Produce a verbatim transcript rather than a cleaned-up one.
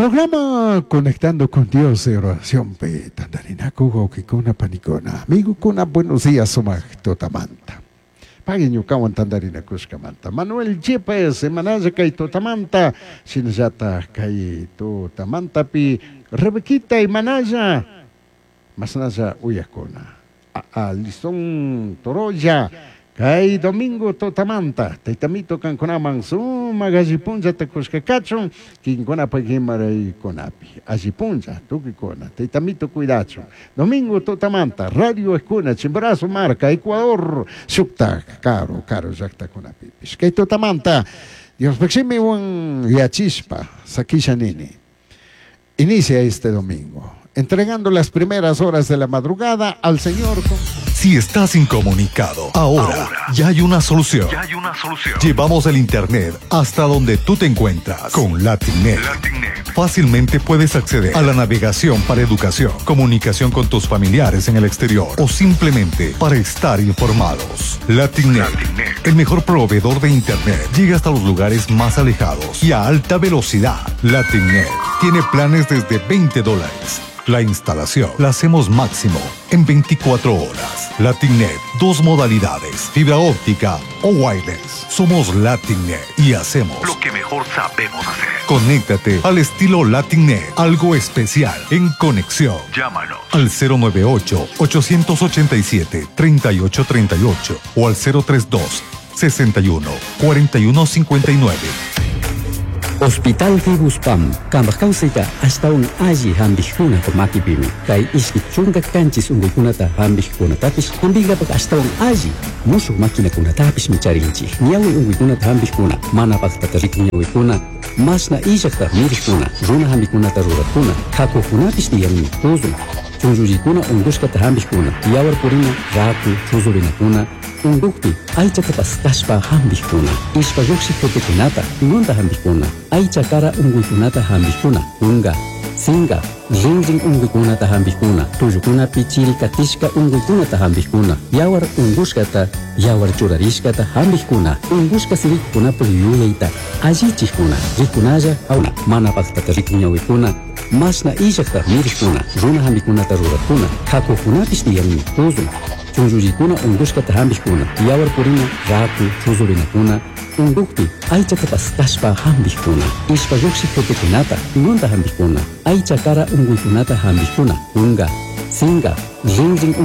Programa Conectando con Dios de oración pe tandarinaku wawqikuna panikuna amigokuna buenos días sumaq tutamanta. Pagui ñukawan tandarinakushkamanta. Manuel Yepes semanalla kay tutamanta shinallataq kay tutamantapi Rebequita imanalla masnalla uyakuna. Alison Toroya kay domingo tutamanta taytamito kankunaman sumaq allipunllata kushka kachun kinkunapaq imaraykunapi allipunlla tukuykuna taytamito cuidachun domingo tutamanta radio eskuna Chimborazo marca Ecuador shuktaq karu karu llaqtakunapipish kay tutamanta Diospaq shimiwan yachishpa sakisha nini inicia este domingo entregando las primeras horas de la madrugada al Señor con Si estás incomunicado, ahora, ya hay una solución. Ya hay una solución. Llevamos el internet hasta donde tú te encuentras con LatinNet. LatinNet. Fácilmente puedes acceder a la navegación para educación, comunicación con tus familiares en el exterior o simplemente para estar informados. LatinNet, LatinNet. el mejor proveedor de internet, llega hasta los lugares más alejados y a alta velocidad. LatinNet tiene planes desde veinte dólares. La instalación la hacemos máximo en veinticuatro horas. LatinNet, dos modalidades, fibra óptica o wireless. Somos LatinNet y hacemos lo que mejor sabemos hacer. Conéctate al estilo LatinNet, algo especial en conexión. Llámanos al cero nueve ocho, ochocientos ochenta y siete, treinta y ocho treinta y ocho o al cero tres dos, sesenta y uno, cuarenta y uno cincuenta y nueve. Hospital Fibuspam, kambaj kawsayta ashtawan alli hampikkunapa makipimi. Kay ishki chunka kanchis unkuykunata hampikkunatapish hampinkapak ashtawan alli mushuk maquinakunatapishmi charinchik. Ñawi unkuykunata hampikkuna, mana paktata rikun ñawikuna, mashna illakta mirikkuna, runa hampikunata rurakkuna, hakukunapish tiyanmi, tuzun, chunllullikuna unkushkata hampikkuna, yawar purina, raku, chuzurinakuna, unkukpi aychata paskashpa hampikkuna, ishpa lluqshik jutikunata, ñunta hampikkuna, aycha kara unkuykunata hampikkuna, unga, singa, rinrin unkuykunata hampikkuna, tullukunapi chiri katishka unkuykunata hampikkuna, yawar unkushkata, yawar churarishkata hampikkuna, unkushka sirikunapak yuyayta allichikkuna, rikunalla awna, mana paktata rikun ñawikuna, mashna illakta mirikkuna, runa hampikunata rurakkuna, hakukunapish tiyanmi, tuzun, chunllullikuna unkushkata hampikkuna, yawar purina, raku, chuzurinakuna, unkukpi aychata paskashpa hampikkuna, ishpa lluqshik jutikunata, ñunta hampikkuna, aycha kara unkuykunata hampikkuna, unga, singa, rinrin